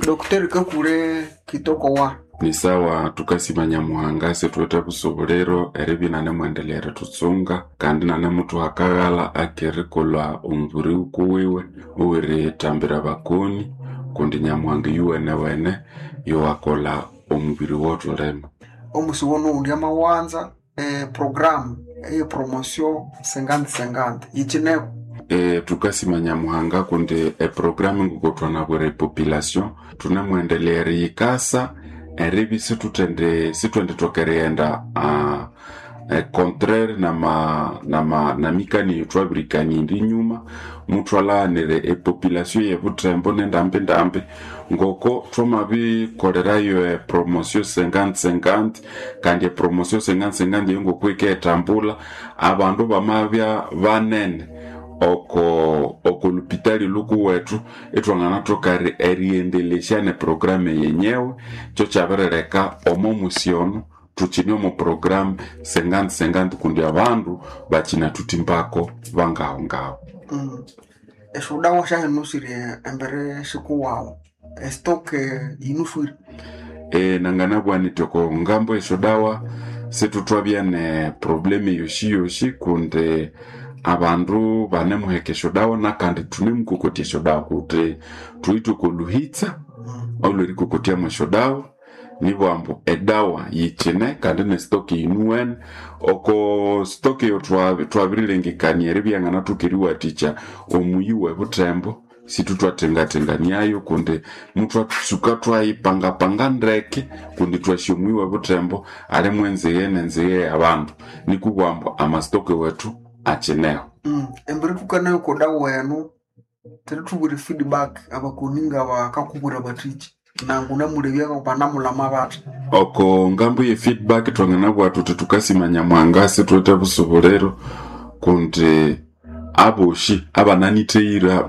Dr. Kakule Kitoko wa Ni sawa tukasima Nyamuhanga situwithe busubuliro eribya inanemwendelea eritutsunga kandi inanemuthuha akaghalha akerikolha omubiri wukuwiwe owerithambira abakoni kundi Nyamuhanga iyuwenewene yowakolha omubiri wothulima. Omusi wono amawanza programu eye promotion 50-50 yikineko. Tukasima Nyamuhanga kundi eprogramu ngoko epopulation thunemwendelea eriyikasa eribya isithwendithoka erighenda contraire namikania eyothwabirikanirya enyuma, muthwalaghanira epopulation yebuthembo nendambindambi ngoko thwamabikolerayo epromotion 50-50 kandi epromotion 50-50 eyo ngoko yikayithambulha, abandu bamabya banene oko lupitali lhukuwethu ithwanganathoka erighendelesya neprogramu yenyewe kyokyabirileka omo musi ono thukyine omo program 50-50 kundi abandu bakyinathuthimbako bangahongaho. Esyodawa syahino siri embere sikuwawu estock yinuswire. Nanganabugha nyithi oko ngambo yesyodawa sithuthwabya ne problem yoshiyoshi kundi abandu banemuheka esyodawa nakandi thunemukokotya esyodawa kundi thuwithe oko luhitsa olwerikokotyamu esyodawa nibugha ambu edawa yikyine kandi ne stock yinuwene. Oko stock eyo thwabirilengekania eribya yanganathoka eriwathikya omuyi webuthembo sithuthwathengathenganiayo kundi muthwatsuka thwayipangapanga ndeke kundi twasi omuyi webuthembo alimu enzighe nenzighe yabandu nikubugha ambu amastock wethu akyineho. Embere thukanayo okodawa eno thuthabwire feedback abakoni ngabakakubwira bathiki nangu namulebya banamulama bathi. Oko ngambo ye feedback thwanganabugha thuthi thukasima Nyamuhanga sithuwithe busubuliro kundi aboshi abananithehire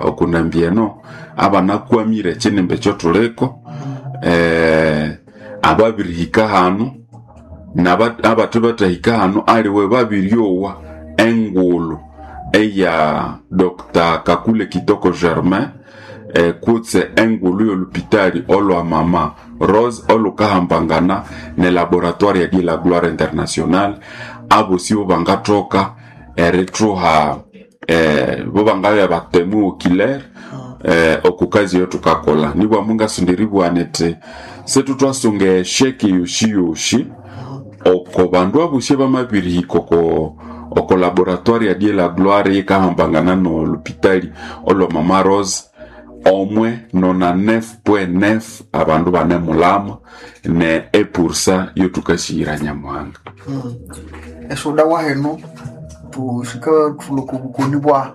okunambi eno abanakwamire ekyinimba ekyothuliko, ababirihika hanu abathe bathahika hanu aliwe babiryowa engulhu eya Dr. Kakule Kitoko Germain kutse engulhu yolupitali olwa Mama Rose olhukahambangana ne laboratoire ya la Gloire International, abosi bobangathoka erithuha bobangabya batemu oculaire okukazi eyathukakolha. Nibugha mungasonda eribugha nithi sithuthwasunga esheke yoshiyoshi oko bandu abosi abamabirihika oko laboratoire ya la Gloire yikahambangana nolupitali olwa Mama Rose omwe 99.9 abandu banemulama ne epursa yothukasiyira Nyamuhanga. Esyodawa henu thusikatulha okobukoni bwahu.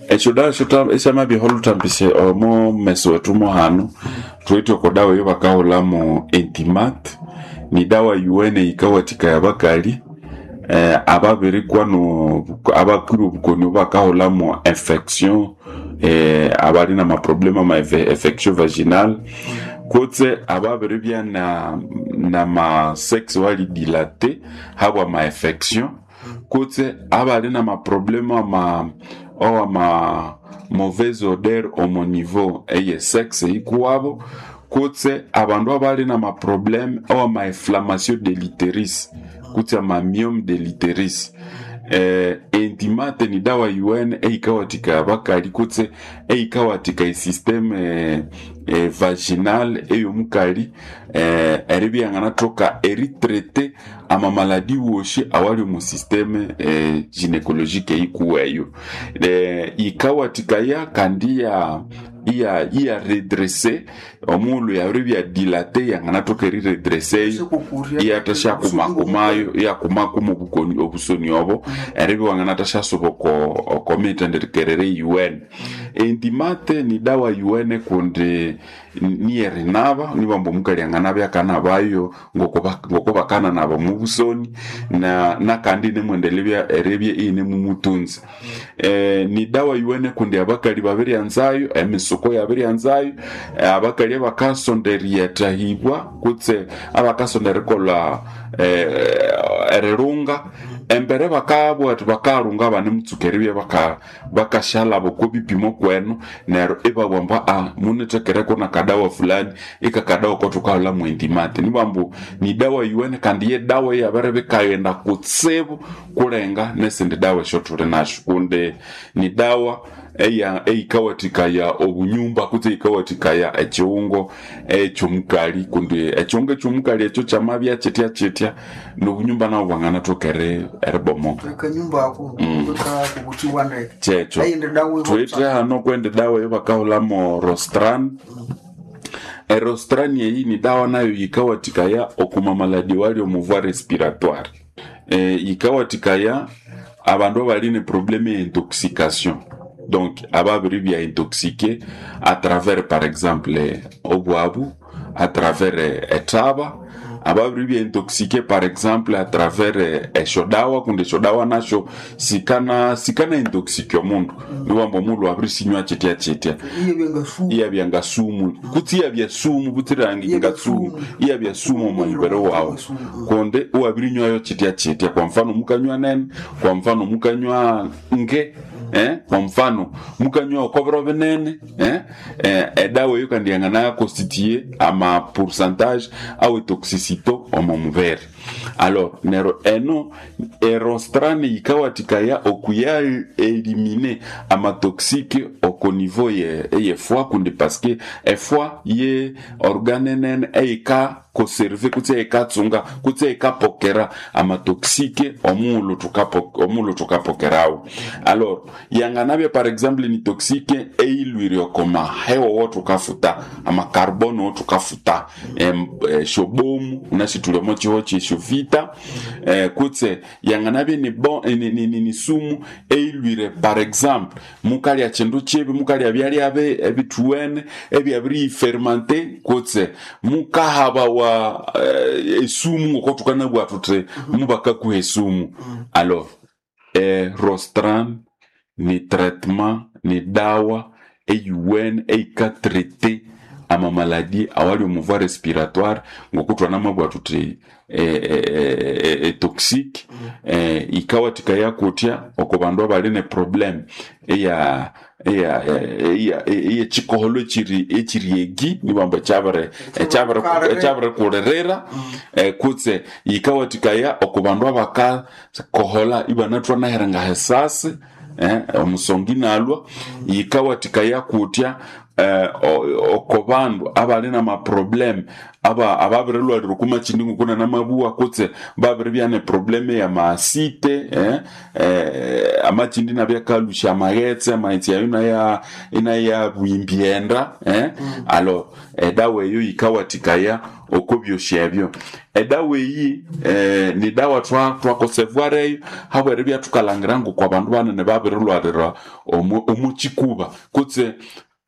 Esyodawa esyamabyaho olhuthambisya omo meso wethu muhanu thuwithe oko dawa eyabakahulhamu Intimat nidawa yuwene yikawathikaya abakali ababirikwa abakwire obukoni obubakahulhamu infection abali namaproblem ama infection vaginal kutse ababiribya nama sexe wali dilate habwa ma infection kutse abali namaproblem owama mauvaise odeur omo niveau eye sexe yikuwabo kutse abandu abali namaproblem owama inflammation de l'utérus kutse ama myome de l'utérus. Intimate ni dawa yuwene eyikawathikaya abakali kutse eyikawathikaya esystem vaginal eyomukali eribya yanganathoka eritrete amamaladi woshi awali omu systeme gynecologique eyikuweyo. Yikawathikaya kandi iya redresse omughulhu yabiribya dilate yanganathoka eriredresseyo iyathasyakuma-kumayo iyakumakuma obusoni obo eribya wanganathasyasuba oko mithenderekerere yuwene. Intimate ni dawa yuwene kundi niyerinaba nibughambu omukali anganabya akanabayo ngoko bakananaba omubusoni nakandi inemwendelebya eribya iyinemumutunza. Ni dawa yuwene kundi abakali babiryanzayo emisuko yabiryanzayo abakali abakasonda eriyethahibwa kutse abakasonda erikolha erirunga embere bakabugha ati bakarunga banemutsuka eribya bakashalaba oko bipimo kwenu neryo ibabugha ambu munethekereko nakadawa fulani ikakadawa kothukahulha mwendimate nibugha ambu nidawa yuwene kandi yedawa iyabiribya ikaghenda kutsibu kulenga nesindi dawa esyothuli nasyo kundi nidawa eyikawathikaya obunyumba kutse eyikawathikaya ekighungo ekyomukali kundi ekighungo ekyomukali ekyo kyamabya kyithya kyithya nobunyumba nabo bwanganathoka eribomoka. Akanyumba ako kakubuthiwa ndeke. Kyekyo. Eyindi dawa Thuwithe hano kwendi dawa eyabakahulhamu Rostran. Erostran eyi ni dawa nayo yikawathikaya okwa mamaladi awali omu voie respiratoire. Yikawathikaya abandu abali ne problème ya intoxication. Donc ababiribya intoxiqué à travers par exemple obwabu, à travers ethaba, ababiribya intoxiqué par exemple à travers esyodawa kundi esyodawa nasyo sikana sikana intoxique omundu. Niwamba omundu abirisinywa kyithya kyithya. Iyabya ngasumu. Iyabya ngasumu. Kutse iyabya sumu butsira ngasumu. Iyabya sumu omu mubiri wawu. Kundi iwabirinywayo kyithya kyithya. Kwa mfano mukanywa nene, kwa mfano mukanywa nge, kwa mfano mukanywa okobiro binene, edawa eyo kandi yangana constituer ama pourcentage awe toxicité omu mubiri. Alors neryo eno erostran yikawathikaya okuya eliminer amatoxique oko niveau eye foie kundi parce efoie ye organe nene eyika conserver kutse eyikatsunga kutse eyikapokera amatoxique omughulhu thukapokerawo. Alors yanganabya par exemple ni toxique eyilhwire oko mahewa awathukafuta, amacarbone awathukafuta, esyobomu wunasi thuli omo kihugho kyesyovita, kutse yanganabya ni sumu eyilhwire par exemple mukalya kindu kibi, mukalya byalya ebithuwene ebyabiriyifermente kutse mukahabawa esumu ngoko thukanabugha thuthi mubakakuha esumu. Alors Rostran ni traitement ni dawa eyuwene eyikatraite amamaladi awali omu voie respiratoire ngoku thwanamabugha thuthi toxique, yikawathikaya kutya oko bandu abali ne problème eya eyekikoholo ekyiri nibamba ekyabirikulirira, kutse yikawathikaya oko bandu abakakohola ibanathwa nahiringa hesasi, omusonga inalhwa. Yikawathikaya kutya oko bandu abali namaproblème ababirilhwalira oko makindi ngoko nanamabugha kutse babiribya ne problème ya maasite, amakindi inabya akalhusya amaghetse, amaghetse ayo inayabugha enda, alors edawa eyo yikawathikaya oko byosi ebyo. Edawa eyi ni dawa twakosevoir eyo habweribya thukalhangira ngoko abandu banene babirilhwalira omu kikuba kutse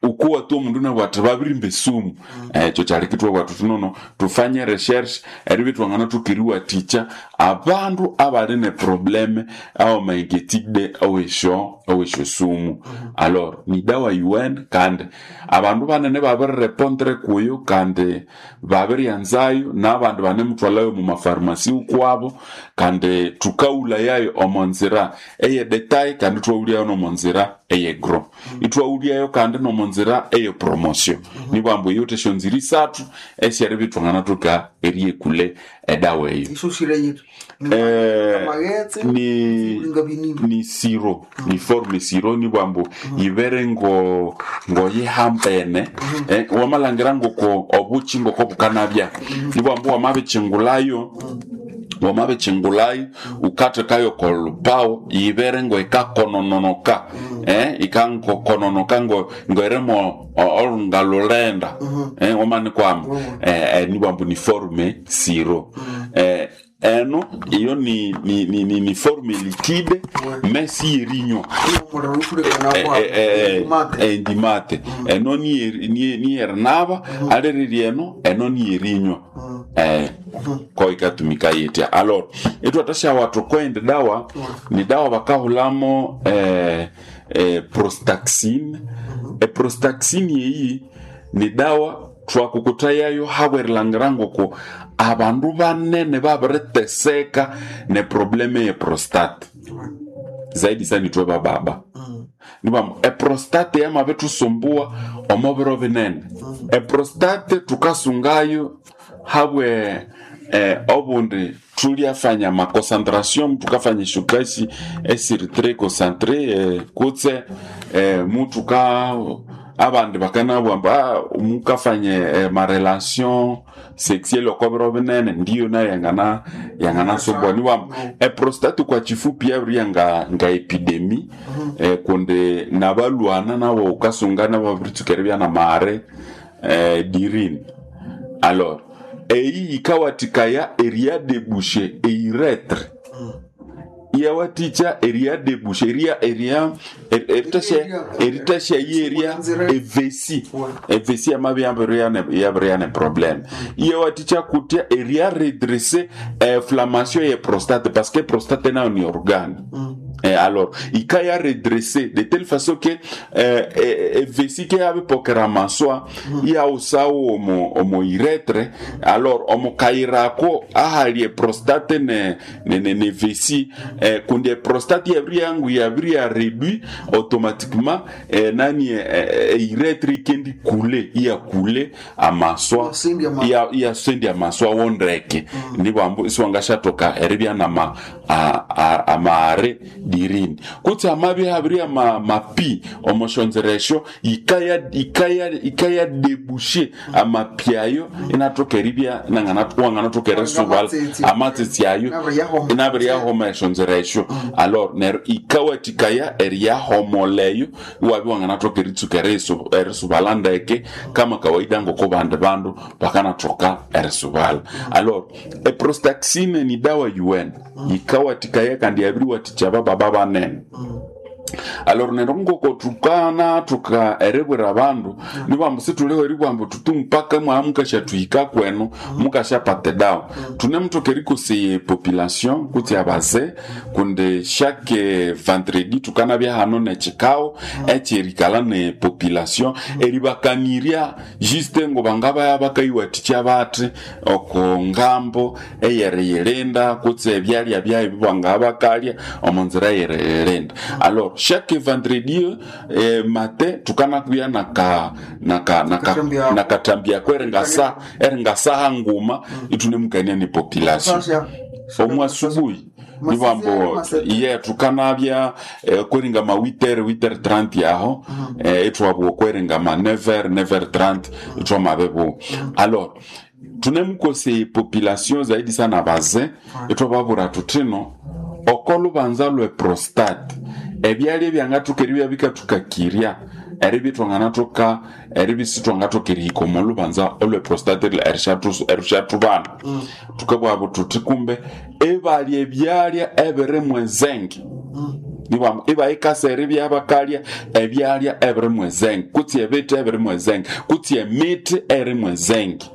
ukuwa tu omundu inabugha athi babirimba esumu. Ekyo kyaleka ithwabugha thuthi nono thufanye recherche eribya ithwanganathoka eriwathikya abandu abali ne problème awamainquiétude awesyo sumu. Alors ni dawa yuwene kandi abandu banene babirirepondre kuyo kandi babiryanzayo nabandi banemuthwalhayo omu mafarmasi ukwabo kandi thukawulayayo omo nzira eye detail kandi ithwawulyayo nomo nzira eye gros. Ithwawulyayo kandi nomo nzira eye promotion. Nibugha ambu eyothe esyonzira isathu esyeribya ithwanganathoka eriyekule edawa eyo. Isoshire yithi amaghetse Ni siro, ni forme siro nibugha ambu yibere ngoyihambene, wamalhangira ngoko obuki ngoko bukanabya. Nibugha ambu wamabikyingulhayo wukathekayo oko lhupawo yibere ngoyikakononoka, ikankokononoka ngoyirimu olunga lhulenda, wamanikwama, nibugha ambu ni forme siro. Eno iyo ni forme liquide mais siyerinywa. Endimate eno niyerinaba aliriri eno eno niyerinywa, ko ikatumika yitya. Alors ithwathasyawa thukoindi dawa ni dawa bakahulhamo prostaxine. Eprostaxine eyi ni dawa Twakukuthayayo habwerilangira ngoko abandu banene babiriteseka ne probleme ye prostate, zaidi sana ithwe bababa. Nibamu eprostate yamabithusumbua omo biro binene. Eprostate tukasungayo habwe obundi tulyafanya maconcentration, tukafanya eshokasi esiri très concentré, kutse mutuka abandi bakanabwa mbu mukafanye marelation sexuelle oko biro binene, ndiyo nayo yanganasumbua. Niwambu eprostate kwa chifupi yabirya nga epidemi, kundi nabalwana nabo ukasunga nabo babiritsuka eribya namare dirini. Alors eyi yikawathikaya eriyadebushe eiretre, iyawathikya eriyadebusha eria eria eritasha yeria evesi evesi yamabya yabirya ne problème. Iyawathikya kutya eria redresser inflammation ye prostate, parce que prostate nayo ni organe. Alors ikaya redresser de telle façon que evesi ke yabipokera maswa iyawusawo omo uretre. Alors omo kayirako ahali eprostate ne vesi, kundi prostate yabiri yangu yabiri ya réduit automatiquement, nani uretre ikendi kule iya kule amaswa iya iya sendi amaswa wondreke. Nibwambu isiwangashathoka eribya nama amare dirini kutsi amabi habiri ama mapi omoshonzeresho ikaya deboucher amapi ayo inathoka eribya wanganathoka erisubala amatsitsi ayo inabiri yahoma eshonzeresho. Alors neryo ikawathikaya eriyahomoleyo iwabya wanganathoka eritsuka erisubala ndeke kama kawaida ngoko bandi bandu bakanathoka erisubala. Alors eprostaxine ni dawa yuwene yikawathikaya kandi yabiriwathikya bababa banene. Alors neryo ngoko tukana tuka eribwira abandu nibambu situliho eribwambu tutu mpaka mwaha mukashathuhika kwenu mukashapata edawa. Tunemuthoka erikoseye population kutsi abaze, kundi chaque vendredi tukanabya hano nekikao ekyerikalha ne population eribakanirya juste ngo bangabaya bakayiwathikya bathi oko ngambo eyeriyilinda kutsi ebyalya byayo bangabya bakalya omo nzira eyeriyilinda. Alors chaque vendredi matin tukanakuya nakathambiyako eringasaha nguma ithunemukania ne population omu asubuhi. Nibambo ye tukanabya kweringa ma 8h 8h30 yaho, ithwabugha kweringa ma 9h 9h30 ithwamabibuwa. Alors tunemukoseye population zaidi sana baze, ithwababwira thuthino oko lubanza lwe prostate ebyalya ebyangathoka eribya bikathukakirya eribya ithwanganathoka eribya isithwangathoka erihika omo lubanza olwe prostate erisyathubana. Thukabugha thuthi kumbe ibalya ebyalya ebirimu ezenge, nibambu ibayikasa eribya bakalya ebyalya ebirimu ezenge kutsi ebithi ebirimu ezenge kutsi emithi erimu ezenge.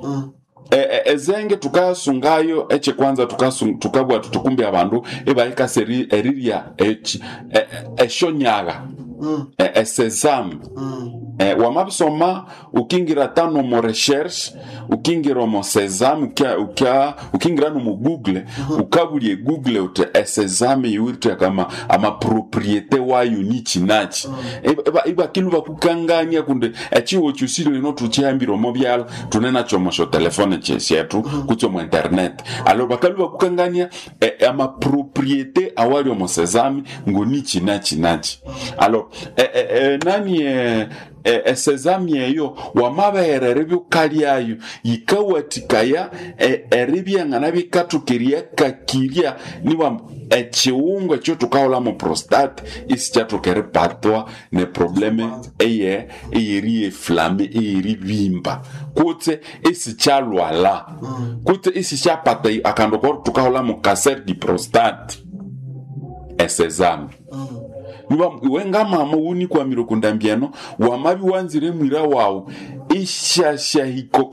Ezenge tukasungayo ekyekwanza tukabugha thuthi kumbe abandu ibayikasa erirya eshonyagha, esesame. Wamabisoma ukingira tano omo recherche, ukingira omo sesame, ukingira nomo Google, ukabulya egoogle uthi esesame yiwithe kama amapropriété wayo nichi nachi. Ibakilwa bakukangania kundi echiwo kyosi lino thukyihambire omo byalha thune nakyo omo syotelefone syethu kutsi omo internet. Alors bakalwa bakukangania amapropriété awali omo sesame ngo nichi nachi nachi. Alors nani esesame eyo wamabeghera eribya wukalyayo yikawathikaya eribya nganabikathoka eriyakakirya nibambu ekiwungu ekyo thukaghulha mo prostate isikyathoka eripatwa ne probleme eye eyeriyeflame eyeribimba kutse isikyalwala kutse isisyapata akandu ko thukaghulha mo cancer du prostate esesame. Iwe ngamama wunikwamire okundambi eno wamabya wanzire mwira wawu isyasyahika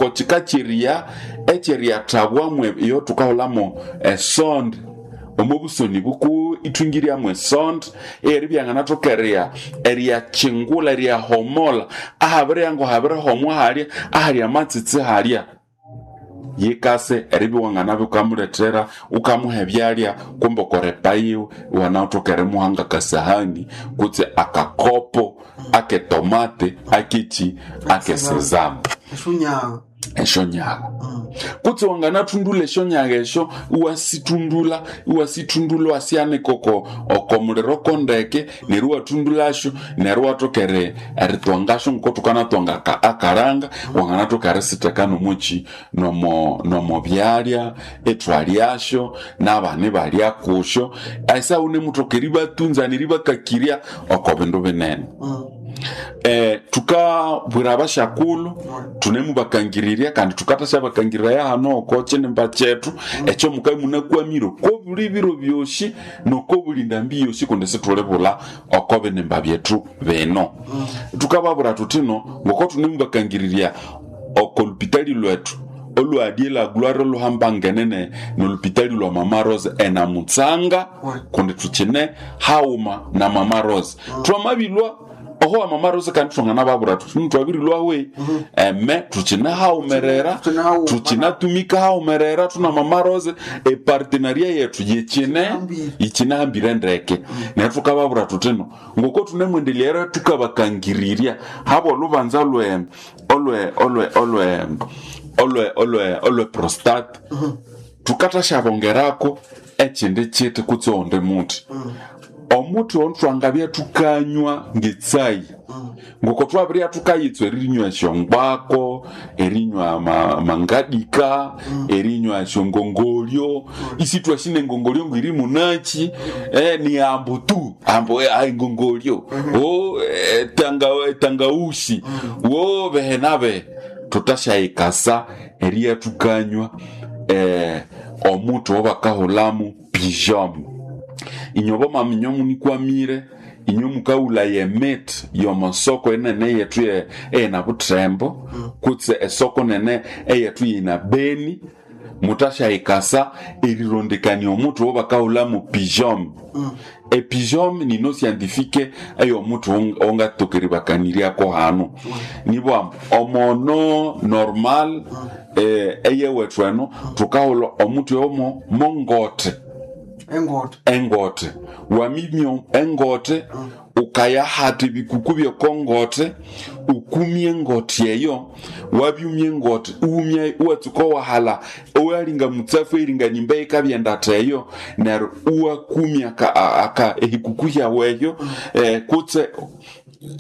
kyeriya ekyeriyathabwamu eyo thukaghulhamu esonde omo busoni bukuwe. ithungiryamu esonde eyeribya yanganathoka eriyakingula, eriyahomola ahabiryango habirihomwa halya ahali amatsitsi halya. Yikase eribya wanganabya wukamulethera wukamuha ebyalya kumbe okorepa yiwe iwanathoka erimuha ngakasahani kutse akakopo aketomate akeki akesezamu Esyonyaga. Esyonyaga kutse wanganathundula esyonyaga esyo, iwasithundula iwasithundula iwasyanika oko muliro kondeke, neryo iwathundulasyo, neryo iwathoka eritwangasyo ngoko thukanathwanga akaranga. Wanganathoka erisitheka nomuki nomo byalya, ithwalyasyo nabana ibalya kusyo. Esa wunemuthoka eribatunza neribakakirya oko bindu binene. Tukabwira abashakulhu thunemubakangirirya kandi thukathasyabakangiriraya hano oko kinimba kyethu ekyo mukabya imunakwamire oko buli biro byosi noko buli ndambi yosi, kundi sithulibulha oko binimba byethu bino. Thukababwira thuthino ngoko thunemubakangirirya oko lupitali lwethu olwadye la Gloire oluhambangene nolupitali lwa Mama Rose enamutsanga, kundi thukyine haghuma na Mama Rose. Thwamabilwa oho wa Mama Rose kandi thwanganababwira thuthi thwabirilwawe eme thukyine haghumerera, Thukyine haghuma. thukyinatumika haghumerera thuna Mama Rose, epartenaria yethu yikyine Yikyinahambire. Yikyinahambire ndeke. Neryo thukababwira thuthino ngoko thunemwendelera thukabakangirirya habwa olubanza olwe olwe olwe olwe olwe olwe olwe prostate, thukathashabongerako ekindi kiti kutse owundi muthi, omuthi ono thwangabya thukanywa ngetsai ngoko thwabirya thukayitswa erinywa esyongwako, erinywa amangadika, erinywa esyongongolyo, isithwasi nengongolyo ngiri munaki, ni ambu tu ambu, engongolyo o tangausi wo behe nabe thutasyayikasa eriya thukanywa omuthi owabakahulhamu pigeon. Inywe bamama, inywe munikwamire, inywe mukawulaya emiti yomasoko enene eyethu eyina Buthembo kutse esoko nene eyethu yina Beni, mutasyayikasa erirondekania omuthi owabakahulhamu pigeon. Epigeon nino scientifique eyomuthi owangatoka eribakaniryako hano nibwamba omono normal eyewethu eno thukahulha omuthi omo mongote. Engote. Engote wamimya engote, ukayahata ebikuku byekongote, ukumya engote eyo, wabyumya engote uwumya, iwatsuka wahala owalinga mutsafu eringa nimba yikabyenda eyo, neryo iwakumya aka ehikuku hyawu eyo, kutse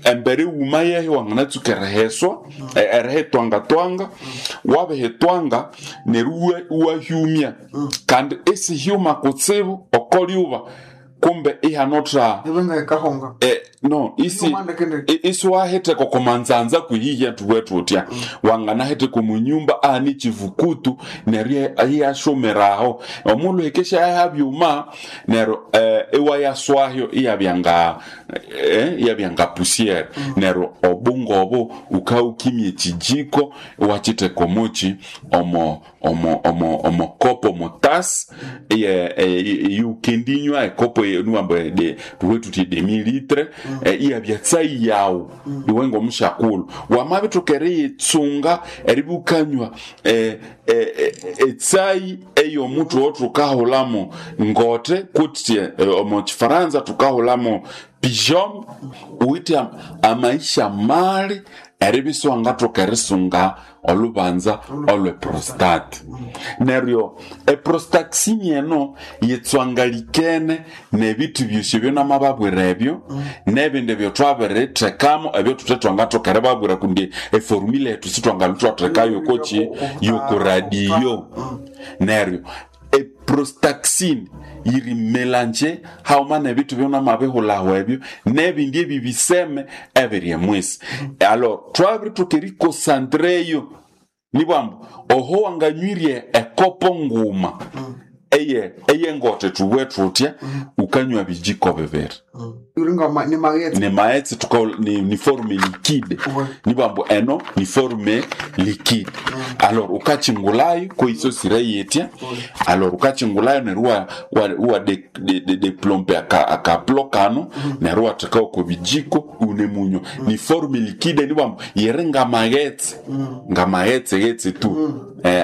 embere iwuma yeyo wanganatsuka eriheswa, erihitwangatwanga. Wabihitwanga neryo iwahyumya kandi isihyuma kutsibu okolyuba kumbe ihanotha Ibenga ikahonga. No isi Ibyuma ndekendeke. Isiwahitheka okomanzanza kwihihya thuwe thutya wanganahitheka omunyumba ahani chivukutu neryo iyashumiraho omulhu hikesha yahabyuma neryo iwayaswahyo iyabyanga iyabyanga pusiere. Neryo obunga obo ukawukimya ekijiko iwakitheka omuki omo omo omo omo kopo omotasi iukendinywa ekopo niwamba tuwe tuthi demi litre, iyabya tsayi yawu iwe ngomushakulhu wamabithuka eriyitsunga eribukanywa etsayi eyomuthi owo thukahulhamu ngote kutse omu kifaransa thukahulhamu pigeon uwithe amaisha mali eribya isiwangathoka erisunga olubanza olwe prostate. Neryo eprostaxin eno yitswangalikene nebithu byosi ebyo namababwira ebyo nebindi ebyo thwabirithekamu ebyo thuthe thwangathoka eribabwira kundi eformula yethu sithwangalhu thwathekayo yokoki yokoradiyo. Neryo eprostaxin yiri melange hauma nebithu byonamabihulhaho ebyo nebindi ebibiseme ebiri emwisi. Alors twabirituka erikosantreyo nibwambu oho wanganywirye ekopo nguma eye eyengote thubwe thutya ukanywa bijiko bibiri. Uringa ni maghetse. Ni maghetse tuka ni forme liquide. Ouais. Nibambu eno ni forme liquide. Alors ukachingulayo koisosire yetya. Alors ukachingulayo neryo wa deplompe akaplo kano, neryo watheka oko bijiko une munyo. Ni forme liquide, nibambu yeri ngamaghetse, ngamaghetse ghetse tu.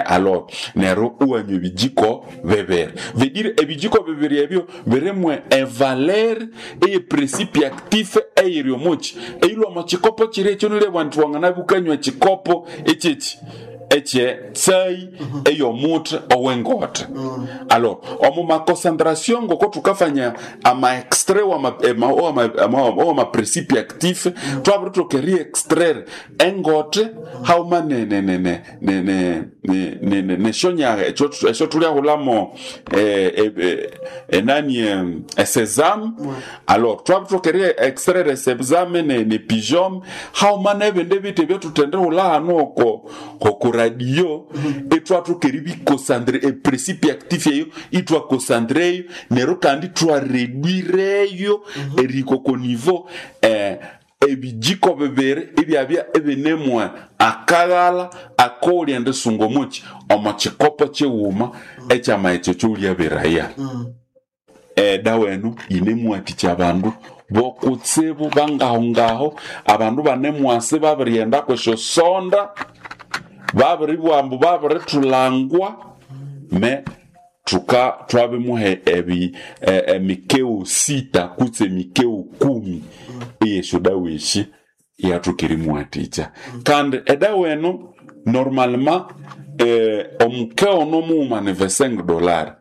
Alors neryo uwanywa ebijiko bibiri, vedire ebijiko bibiri ebyo birimwe evaler eye principe actif eyiri omuki eyilwa omu kikopo kiri ekyo, nilebwa nti wangana bukanywa ekikopo ekyeki ekye tsai eyomuthi owengote. Alors omu maconcentration ngoko tukafanya ama extrait wama principe actif, twabiritoka eri-extraire engote hauma neshonyaga esyo tulyahulamo enani esesame. Alors twabiritoka eri-extraire esesame ne pigeon hauma nebindi bithi ebyatutendehula hanu oko radio, itwathoka eribikosandre eprincipe actif eyo, itwakosandreyo neryo kandi twaredwireyo erihika oko niveau ebijiko bibiri ibyabya ibinemwe akaghala akolya ndisunga omuki omo kikopo kighuma ekyamaghetse ekyowulyabiraya. Edawa eno yinemwathikya abandu bokutsibu bangahongaho, abandu banemwasi babirighenda kwesyosonda, babiribwambu babirithulangwa me tuka twabimuha ebi emikeo 6 kutse emikeo 10 eyesyodawa esi iyathoka erimuwathikya. Kandi edawa eno normalement omukeo nomughuma ni $25,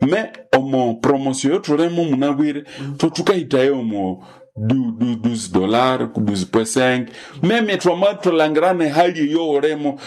me omo promotion yothulimo munabwire thukahitayo omo $12 ku 12.5, meme twamathulangira nehali eyoghulimo.